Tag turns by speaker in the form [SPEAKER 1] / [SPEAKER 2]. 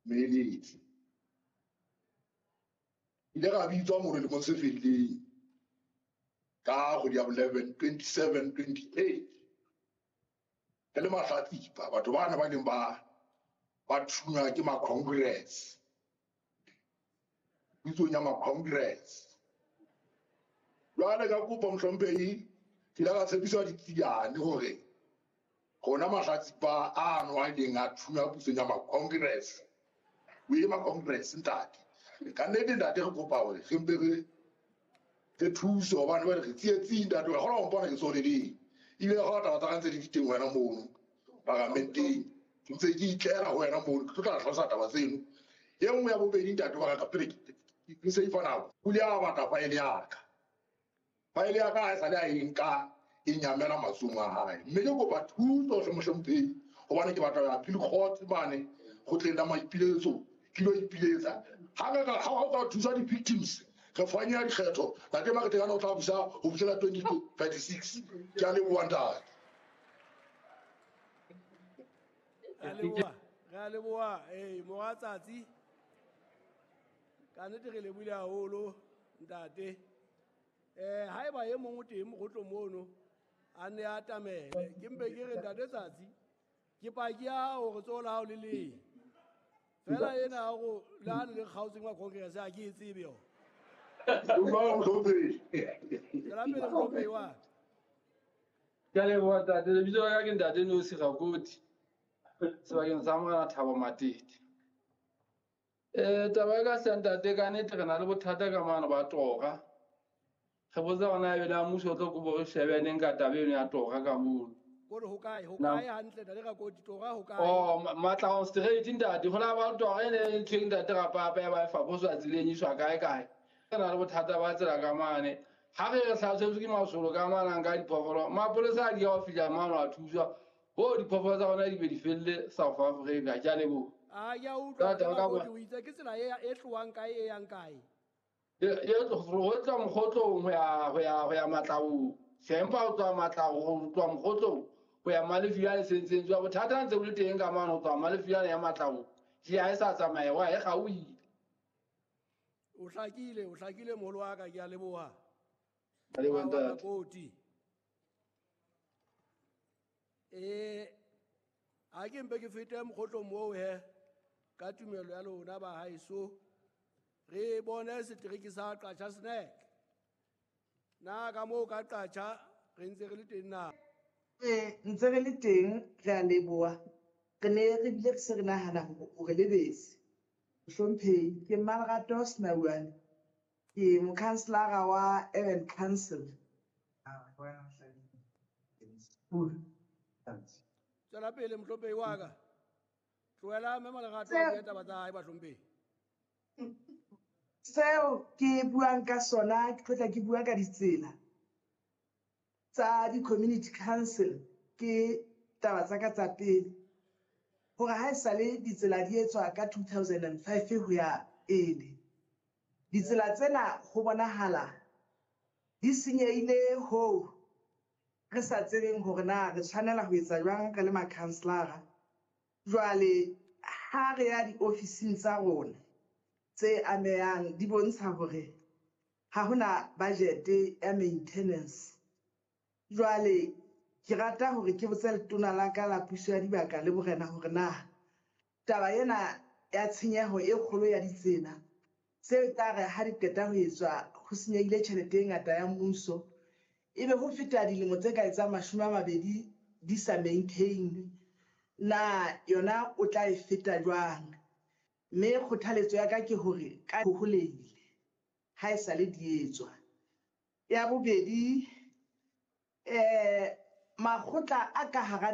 [SPEAKER 1] Moeletsi. Ile ra bitswa mono lemong se fetileng ka kgwedi ya 11 27 28 re le mahlatsipa, batho bana ba neng ba thunywa ke ma-congress, pitsong ya ma-congress. Jwale ka kopo mohlomphehi, ke ile ka tshepiswa ditsiane hore rona mahlatsipa ano a ileng a thunywa pusong ya ma-congress, o ye ma-congress ntate. Ka nnete ntate, re kopa hore re mpe re thuse hobane jwale re tsietsing ntate. Wa kgona ho mpona ke tsweleleng, ebile ka kgona taba tsa ka ntse di le teng wena mono paramenteng, ke ntse ke itlela ho wena mono, ke tlo tla hlalosa taba tseno. E nngwe ya bobedi ntate wa ka, pele ke se ifa nako, o ile a batla faele ya ka. Faele ya ka ha e sale a e nka, e nyamela matsohong a hae, mme ke kopa thuso hle mohlomphehi, hobane ke batla ho ya appeal court mane kgotleng la maipiletso, ke lo ipiletsa. Ha re ka ha o ka thusa di-victims, re fanya dikgetho, ntate Maketekane o tla busa ho fihlela 2036. Ke a leboha ntate.
[SPEAKER 2] Re a leboha, re a leboha. Ee, mora tsatsi, ka nnete re lebohile haholo ntate. Haeba e mong o teng mokgotlong mono a ne a atamele, ke mpe ke re ntate Tsatsi, ke paki ya hao hore tsoho la hao le leng fela ena ya hore le ha le le kgaotseng wa congress, ha ke e tsebe yona.
[SPEAKER 1] Dumela mohlomphehi.
[SPEAKER 2] Tswela pele mohlomphehi wa ka.
[SPEAKER 3] Ke a leboha ntate. Lebitso la ka ke ntate Nosi Rakoti, sebakeng sa Morena Thabo Matete. Taba e ka hle ntate, ka nnete re na le bothata ka mano ba tora. Re botsa hore na ebe na mmuso o tlo kopo re shebe neng ka taba eno ya tora ka mono.
[SPEAKER 2] Kore ho kae, ho kae hantle ntate Rakoti, tora ho kae?
[SPEAKER 3] Oh, Matlaong Street ntate, ho la ba tora e ne e ntho e ntate Rapapa ya ba e faposwa tseleng iswa kae kae. Re na le bothata ba tsela ka mane. Ha re re hlasetswe ke masolo ka mane a nka diphoofolo, mapolesa a di ya ho fihla mane a thuswa. Ho diphoofolo tsa rona di be di felle South Africa. Ke a leboha.
[SPEAKER 2] A ke a utlwa,
[SPEAKER 3] Ntate, o ka
[SPEAKER 2] Rakoti,
[SPEAKER 3] bua.
[SPEAKER 2] o itse ke tsela e tlohang kae e yang kae?
[SPEAKER 3] E tloha Mokgotlong ho ya Matlaong. Sempa ho tloha Matlaong, ho tloha Mokgotlong ho ya Malefiyane sentseng tswa. Bothata ntse bo le teng ka mane ho tloha Malefiyane ya Matlaong. Ke ha e sa tsamaye, wa e kgaohile.
[SPEAKER 2] O hlakile, o hlakile moholo wa ka, ke a leboha.
[SPEAKER 3] A leboha ntate.
[SPEAKER 2] Rakoti. Ha ke mpe ke fete mokgotlong moo he, ka tumelo ya lona ba haeso, re bone setereke sa Qacha's Nek. Na ka moo ka Qacha re ntse re le teng na?
[SPEAKER 4] Ee, ntse re le teng, re a leboha. Re ne re bile re se re nahana hore o re lebetse. Mohlomphehi, ke Malerato Senauane. Ke mokhanselara wa Urban Council.
[SPEAKER 2] Tswela pele mohlomphehi wa ka. Tlohela mme Malerato a bue taba tsa hae bahlomphehi.
[SPEAKER 4] Seo ke buang ka sona, ke tlotla ke bua ka ditsela tsa di-community council, ke taba tsa ka tsa pele. Hore ha esale ditsela di etswa ka 2005 ho ya pele, ditsela tsena ho bonahala di senyehile hoo re sa tsebeng hore na re tshwanela ho etsa jwang re le makhanselara. Jwale ha re ya diofising tsa rona tse amehang, di bontsha hore ha hona budget ya maintenance. Jwale ke rata hore ke botse letona la ka la puso ya dibaka le borena hore na taba ena ya tshenyeho e kgolo ya ditsela tse tla re ha di qeta ho etswa ho senyehile tjhelete e ngata ya mmuso, ebe ho feta dilemo tse ka etsang 20 di sa maintain, na yona o tla e feta jwang? Mme kgothaletso ya ka ke hore ka hoholehile ha e sale di etswa. Ya bobedi, makgotla a ka hara